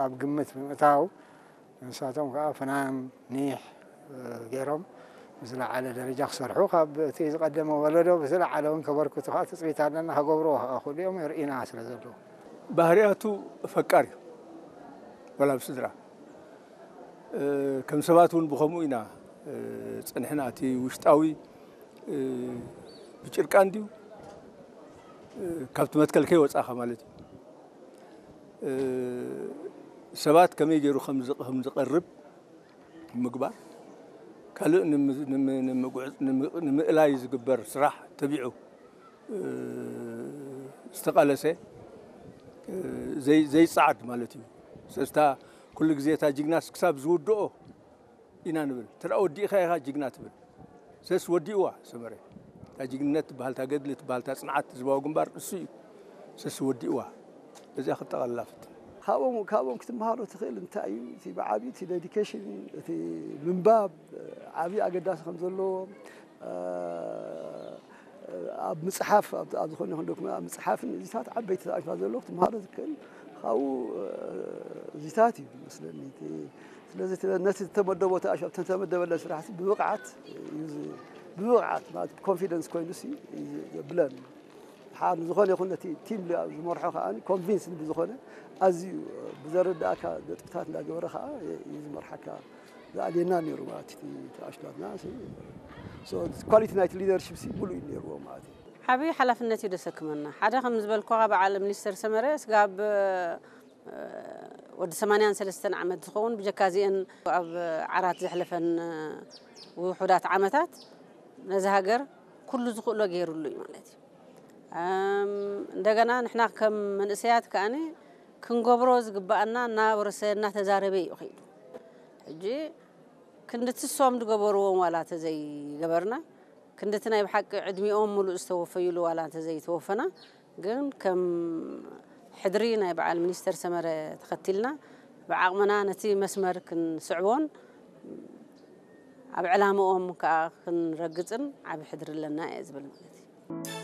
ኣብ ግምት ብምእታው ንሳቶም ከዓ ፍናን ኒሕ ገይሮም ብዝለዓለ ደረጃ ክሰርሑ ካብ እቲ ዝቐደመ ወለዶ ብዝለዓለ እውን ከበርክቱ ከዓ ትፅቢት ኣለና። ከገብርዎ ከዓ ክእሉ እዮም። ርኢና ስለ ዘለዉ ባህርያቱ ፈቃር እዩ። ወላ ብስድራ ከም ሰባት እውን ብኸምኡ ኢና ፀንሕና። እቲ ውሽጣዊ ብጭርቃን ድዩ ካብቲ መትከል ከይወፃእኻ ማለት እዩ። ሰባት ከመይ ገይሩ ከም ዝቐርብ ምግባር፣ ካልእ ንምእላይ ዝግበር ስራሕ ተቢዑ ዝተቓለሰ ዘይፀዓድ ማለት እዩ። ሰስታ ኩሉ ግዜ እታ ጅግናስ ክሳብ ዝውድኦ ኢና ንብል። ተደኣ ወዲእኻ ኢኻ ጅግና ትብል። ሰስ ወዲእዋ ሰመረ። እታ ጅግንነት ትበሃል፣ እታ ገድሊ ትበሃል፣ እታ ፅንዓት ህዝባዊ ግንባር እሱ እዩ። ሰስ ወዲእዋ። እዚኣ ክጠቓልላ ፍትን። ካብኦም ካብኦም ክትመሃሮ ትኽእል እንታይ እዩ? እቲ ብዓቢ እቲ ዴዲኬሽን፣ እቲ ምንባብ ዓቢ ኣገዳሲ ከም ዘለዎ ኣብ ምጽሓፍ ኣብ ዝኾነ ይኹን ዶክመንት ኣብ ምጽሓፍን እዚታት ዓበይቲ ተኣሽፋ ዘለዉ ክትመሃሮ ዝክእል ካብኡ እዚታት እዩ መስለኒ። ስለዚ ነቲ ዝተመደቦ ተኣሽፋ ተመደበለ ስራሕቲ ብብቕዓት ብብቕዓት ማለት ኮንፊደንስ ኮይኑ ሲ ብለን ሓ ዝኾነ ይኹን ነቲ ቲም ዝመርሖ ከዓ ኮንቪንስ ብዝኾነ ኣዝዩ ብዘረዳእካ ነጥብታት እንዳገበረ ከዓ እዩ ዝመርሓካ። ዝኣልየና ነይሩ ማለት እቲ ኣሽላትና ኳሊቲ ናይቲ ሊደርሽፕ ሲ ሙሉእ እዩ ነይርዎ ማለት እዩ። ዓብዪ ሓላፍነት እዩ ደሰክመና። ሓደ ከም ዝበልኩኻ በዓል ሚኒስተር ሰመረ ስጋብ ወዲ ሰማንያን ሰለስተን ዓመት ዝኸውን ብጀካ እዚአን ኣብ ዓራት ዘሕለፈን ውሑዳት ዓመታት ነዚ ሃገር ኩሉ ዝኽእሎ ገይሩሉ እዩ ማለት እዩ። እንደገና ንሕና ከም መንእሰያት ከኣኒ ክንገብሮ ዝግባኣና እናወረሰ እናተዛረበ እዩ ከይዱ። ሕጂ ክንድቲ እሶም ዝገበርዎም ዋላ ተዘይገበርና ክንድቲ ናይ ብሓቂ ዕድሚኦም ሙሉእ ዝተወፈዩሉ ዋላ እንተዘይተወፈና ግን ከም ሕድሪ ናይ በዓል ሚኒስተር ሰመረ ተኸቲልና ብዓቕምና ነቲ መስመር ክንስዕቦን ኣብ ዕላምኦም ከዓ ክንረግፅን ዓብ ሕድሪ ኣለና እየ ዝብል ማለት እዩ።